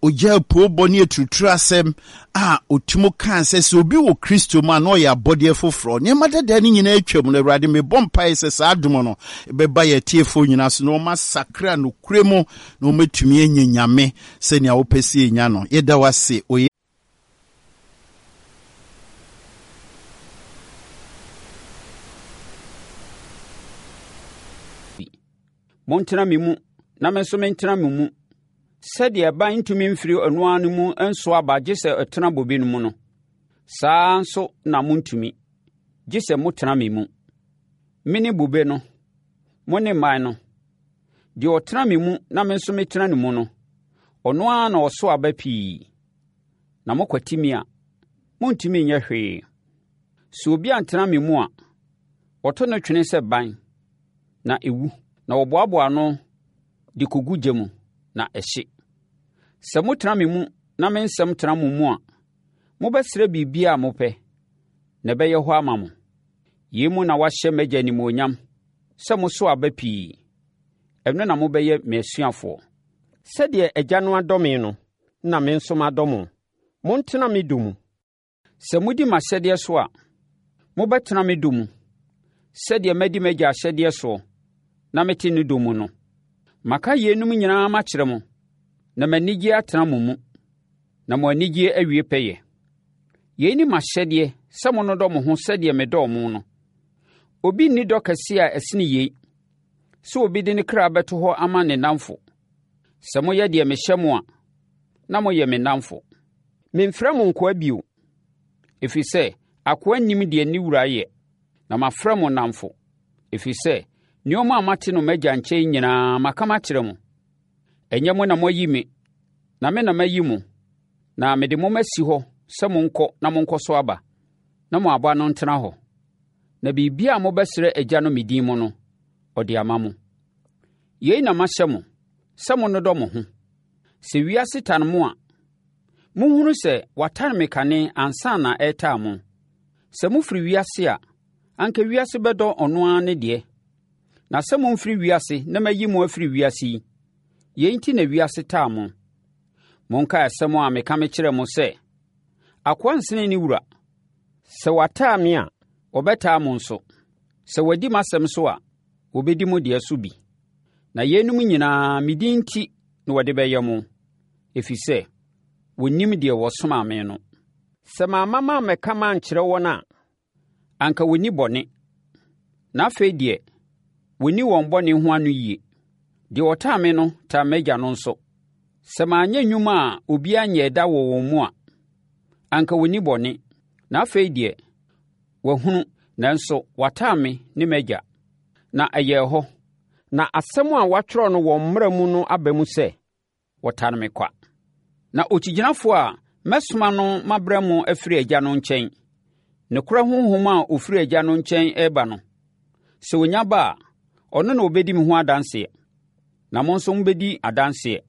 Ogyaa poobɔ ne aturuturu asɛm a ɔtumi kaa sɛ, sɛ obi wɔ Kristo mu a, na ɔyɛ abɔdeɛ foforɔ. Nneɛma dada no nyinaa atwam no, Awurade, mebɔ mpaeɛ sɛ saa adom no bɛba yɛn atiefoɔ nyinaa so na wɔasakra nokorɛ mu na wɔatumi anya Nyame sɛnea wopɛ sɛ yɛnya no. Yɛda wo ase wɔ Montena me mu na me nso mentena mo mu. Sɛdeɛ ɛban ntumi mfiri ɔno ara no mu nso aba gye sɛ ɛtena bobe no mu no, saa ara nso na montumi, gye sɛ motena me mu. Mene bobe no, mo ne mman no. Deɛ ɔtena me mu na me nso metena ne mu no, ɔno ara na ɔso aba pii. Na mokwati me a, montumi nyɛ hwee. Sɛ obi antena me mu a, wɔto no twene sɛ ban, na ɛwu, na wɔboaboa ano de kɔgu gya mu, na ɛhye. Sɛ motena me mu na me nsɛm tena mo mu a, mobɛsrɛ biribiara a mopɛ, na ɛbɛyɛ hɔ ama mo. Yei mu na wɔahyɛ m'Agya animuonyam sɛ moso aba pii. Ɛno na mobɛyɛ me asuafoɔ. Sɛdeɛ Agya no adɔ me no, na me nso madɔ mo. Montena me dɔ mu. Sɛ modi m'ahyɛdeɛ so a, mobɛtena me dɔ mu, sɛdeɛ madi m'Agya ahyɛdeɛ soɔ na mete ne dɔ mu no. Maka yeinom nyinaa makyerɛ mo, na m'anigyeɛ atena mo mu, na mo anigyeɛ awie pɛyɛ. Yei ne m'ahyɛdeɛ sɛ monnodɔ mo ho sɛdeɛ medɔɔ mo no. Obi nni dɔ kɛseɛ a ɛsene yei, sɛ obi de ne kra bɛto hɔ ama ne nnamfo. Sɛ moyɛ deɛ mehyɛ mo a, na moyɛ me nnamfo. Memfrɛ mo nkoa bio, ɛfiri sɛ akoa nnim deɛ ne wura yɛ, na mafrɛ mo nnamfo, ɛfiri sɛ nneɛma a mate no m'agya nkyɛn nyinaa maka makyerɛ mo. Ɛnyɛ mo na moayi me, na me na mayi mo, na mede mo masi hɔ sɛ monkɔ na monkɔso aba, na mo aba no ntena hɔ. Na biribiara a mobɛsrɛ Agya no me din mu no, ɔde ama mo. Yei na mahyɛ mo, sɛ monnodɔ mo ho. Sɛ wiase tan mo a, monhunu sɛ watane me kane ansa na ɛretaa mo. Sɛ mofiri wiase a, anka wiase bɛdɔ ɔno ara ne deɛ. Na sɛ momfiri wiase na mayi mo afiri wiase yi, yei nti na wiase taa mo. Monkae asɛm a meka mekyerɛɛ mo sɛ, Akoa nsene ne wura. Sɛ wɔataa me a, wɔbɛtaa mo nso. Sɛ wɔadi m'asɛm so a, wɔbɛdi mo deɛ so bi. Na yeinom nyinaa, me din nti na wɔde bɛyɛ mo, ɛfiri sɛ wɔnnim deɛ wɔsomaa me no. Sɛ mamma mammɛka mankyerɛ wɔn a, anka wɔnni bɔne. Na afei deɛ, wɔnni wɔn bɔne ho ano yie. Deɛ ɔtaa me no taa m'agya no nso. Sɛ manyɛ nnwuma a obiara nyɛɛ da wɔ wɔn mu a, anka wɔnni bɔne. Na afei deɛ, wɔahunu, nanso wɔataa me ne m'agya. Na ɛyɛɛ hɔ, na asɛm a wɔatwerɛ no wɔn mmara mu no aba mu sɛ, Wɔtane me kwa. Na okyigyinafoɔ a mɛsoma no mabrɛ mo afiri Agya no nkyɛn, nokorɛ Honhom a ɔfiri Agya no nkyɛn reba no, sɛ ɔnya ba a, ɔno na ɔbɛdi me ho adanseɛ. Na mo nso mobɛdi adanseɛ,